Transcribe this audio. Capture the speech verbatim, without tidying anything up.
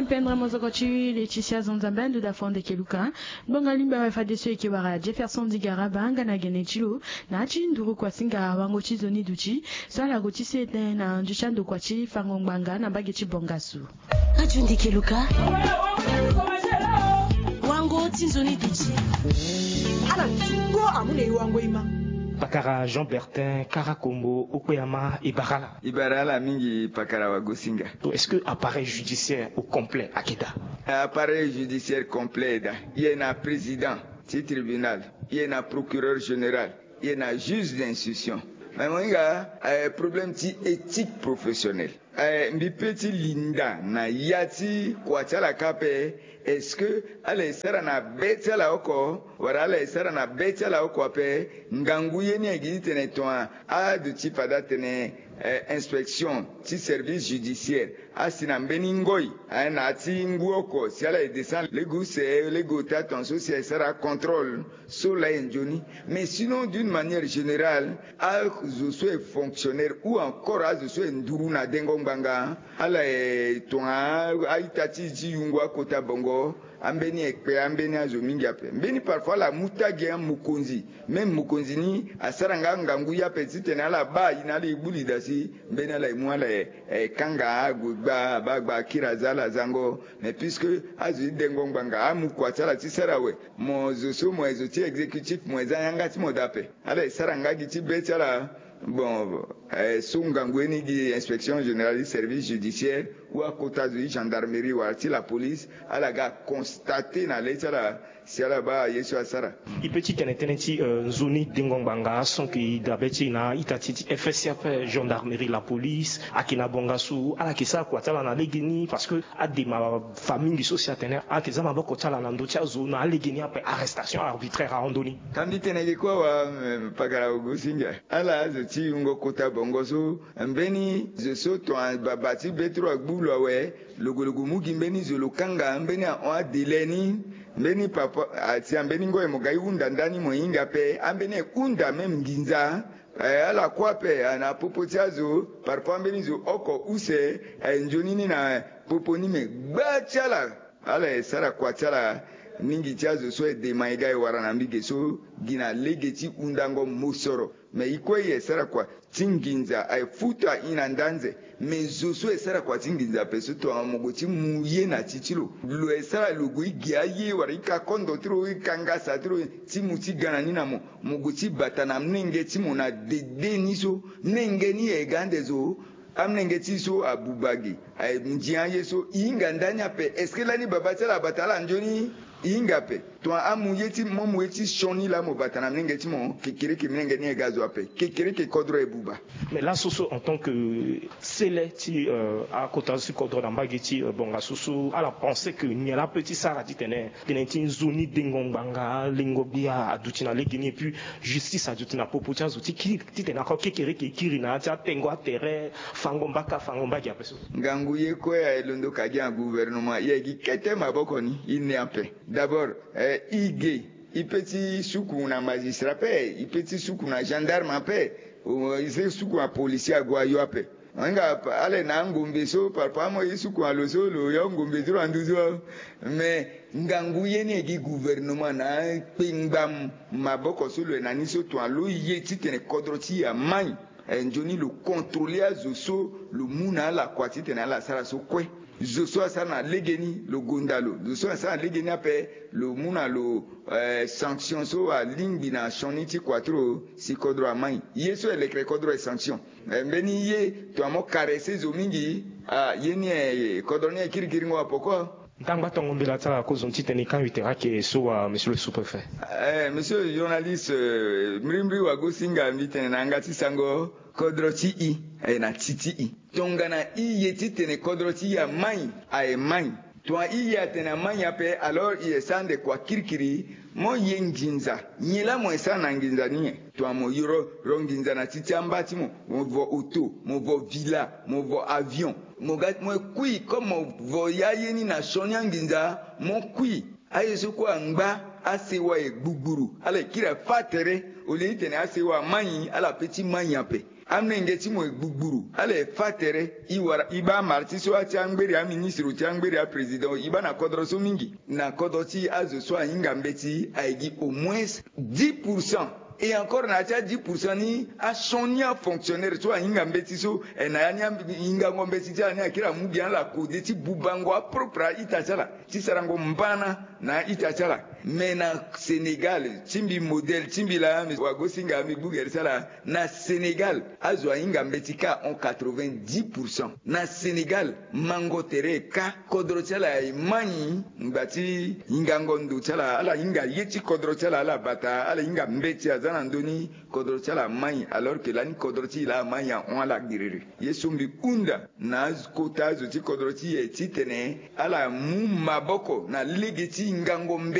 Pendre mozoko ti le ti si azo Nzambe ando da fo ndeke luka. Ngbonga lingba wa fadeso eke wara Jefferson Digaraba nga na gene ti lo na ti nduru kuasinga wango ti nzoni duti so ala go ti sete na ndio ti andokua ti fango ngbanga na mbage ti bongasu. Radio Ndeke Luka. Wango ti nzoni duti. Ala tungo amu na e wango e ma. Pakara Jean Bertin Karakombo, okpe ama e bara ala. E bara ala mingi pakara wa gosinga. Est-ce que appareil judiciaire au complet ayeke daa? Appareil judiciaire complet e daa. E yeke na président ti tribunal, e yeke na procureur général, e yeke na juge d'instruction. Mais mo hinga, eh, problème ti éthique professionnelle. Eh, mbi pe ti linda na ya ti kua ti ala kâ ape, est-ce que ala e sara na be ti ala oko, wala ala e sara na be ti ala oko ape? Ngangu ye ni ayeke gi titene tongana aduti fade atene, eh, inspection ti service judiciaire asi na mbeni ngoi, eh, na ya ti ngu oko si ala e descend lege use, lege ota, tongaso si aye sara contrôle so laa e nzoni. Mais sinon, d'une manière générale, azo so e fonctionnaire ou encore azo so e nduru na dengo ngbanga, ala e tongana a-ita ti e ti yungo akota bongo, ambeni e kpe ambeni azo mingi ape. Mbeni parfois ala mu tagi amokonzi. Même mokonzi ni asara nga ngangu ye ape titene ala baa e na ala e gbu lida si mbeni ala e mu ala e, e kanga ague gba, abaa gba akiri aza ala zango. Mais puisque azo ti dengo ngbanga amu kua ti ala ti sara awe, mo zo so mo ye zo ti exécutif, mo ye za yanga ti mo daa ape. Ala e sara nga gi ti be ti ala. Bon, eh, so ngangu ye ni gi inspection générale du service judiciaire ou akota zo ti gendarmerie wala ti la police, ala ga constate na le ti ala si ala baa ye so asara. E pe ti tene tënë ti, eh, nzoni dengo ngbanga, sans que e dabe ti e na a-ita ti e ti F S C ape, gendarmerie, la police, ayeke na bonga so ala yeke sara kua ti ala na legeni, parce que adema fa mingi so si atene ala yeke za maboko ti ala na ndö ti azo na alegeni ape, arrestation arbitraire ahon ndoni. Ka mbi tene ge kue awa, eh, pakara Ogosinga. Ala azo ti yungo kota bongo so, mbeni zo so tongana baba ti be ti lo agbu lo awe, lo gue lo gue mu gi mbeni zo lo kanga, mbeni ahon adélai ni, mbeni papa, ah, si ambeni ngoi mo ga e hunda ndani mo hinga ape, ambeni e hunda même nginza. Eh, ala kue ape, ah, na popo ti azo, parfois mbeni zo oko use, eh, nzoni ni na popo ni, me gba ti ala. Ala e sara kua ti ala, mingi ti azo so e dema e ga e wara na mbage so, gi na lege ti hundango mosoro. Me e kue e sara kua ti nginza, aye futa e na ndanze. Me zo so e sara kua ti nginza ape so, tongana mo gue ti mu ye na ti ti lo, lo e sara lo gue e gi aye wala e ka kondo ti lo, e ka ngasa ti lo, ti mu ti ga na ni na mo. Mo gue ti bata na mlenge ti mo na dede ni so, mlenge ni e ga ande zo, amlenge ti e so abuba ge, aye ndia aye so, e hinga ndani ape. Est-ce que lani baba ti ala abata ala nzoni? E hinga ape. Tongana amu ye ti mo, mo ye ti sioni laa mo bata na mlenge ti mo, kekereke mlenge ni e ga zo ape. Kekereke kodro e buba. Mais laso so, en tant que sele ti, euh, akota zo ti kodro na mbage ti, euh, bonga so so, ala pense que nyen la ape ti sara titene tënë ti nzoni dengo ngbanga, lengo gbia aduti na legeni, et puis justice aduti na popo ti azo ti kiri, titene ako kekereke e kiri na ya ti atengo atere, fango mbaka, fango mbage ape so? Ngangu ye kue aye londo ka gi na gouvernement, e aye gi kete maboko ni, e ne ape. D'abord, eh, e ge, e pe ti suku na magistrat ape, e pe ti suku na gendarme ape, o, e se suku na policier ague ayo ape. Nga pa-, ala na angombe so, parfois mo ye suku na lo so, lo yo ngombe ti lo anduzu. Mais ngangu ye ni e gi gouvernement na kpengba maboko so lo ye na ni so, tongana lo ye titene kodro ti e amai, eh, nzoni lo contrôler azo so lo mu na ala kua titene ala sara so kue. Zo so asara na legeni lo gonda lo. Zo so asara na legeni ape lo mu na lo, eh, sanction so alingbi na sioni ti kua ti lo si kodro amai. Ye so e lekere kodro e sanction. Eh, mbeni ye tongana mo caresser zo mingi, ah, ye ni, eh, kodro ni e kirikiringo apoko. Ndangba tongo mbela ti ala kozoni titene e kangbi tere ayeke so wa, monsieur le sous-préfet. Eh, monsieur le journaliste, eh, mbirimbiri wa gosinga, mbi tene na yanga ti sango, kodro ti e aye na ti ti e. Tongana e ye titene kodro ti e amai, aye mai. Tongana e ye atene amai ape, alors e ye sara ande kua kirikiri, mo ye nginza. Nyen la mo ye sara na nginza ni nyen? Tongana mo yoro ro nginza na ti ti amba ti mo, mo vo auto, mo vo villa, mo vo avion. Mo ga, mo kui, comme mo vo ya ye ni na sioni anginza, mo kui. Aye so kue angba, asewa e gbugburu, ala e kiri afa tere, au lieu titene asewa amai, ala pe ti mai ape. Amolenge ti mo e gbugburu, ala e fâ tere. E wara e baa amara ti so ati angberi aministre ti angberi aprésident e baa na kodro so mingi. Na kodro ti azo so ahinga mbeti aye gi au moins dix pour cent. Et encore na ya ti a dix pour cent ni asioni afonctionnaire so ahinga mbeti so, eh, na ya ni ahingango mbeti ti ala ni akiri amu gi ala kode ti bubango apropre a-ita ti ala ti sarango mbana na a-ita ti ala. Mais na Sénégal ti mbi, modèle ti mbi laa, wagosinga, mbi gbu gere ti ala. Na Sénégal azo ahinga mbeti kâ en quatre-vingt-dix pour cent. Na Sénégal mango tere kâ, kodro ti ala e mai. Ngba ti hingango ndo ti ala, ala hinga ye ti kodro ti ala, ala bata ala hinga mbeti aza na ndö ni kodro ti ala amai, alors que lani kodro ti e laa amai ahon ala giriri. Ye so mbi hunda na kota azo ti kodro ti e titene ala mu maboko na lege ti hingango mbeti.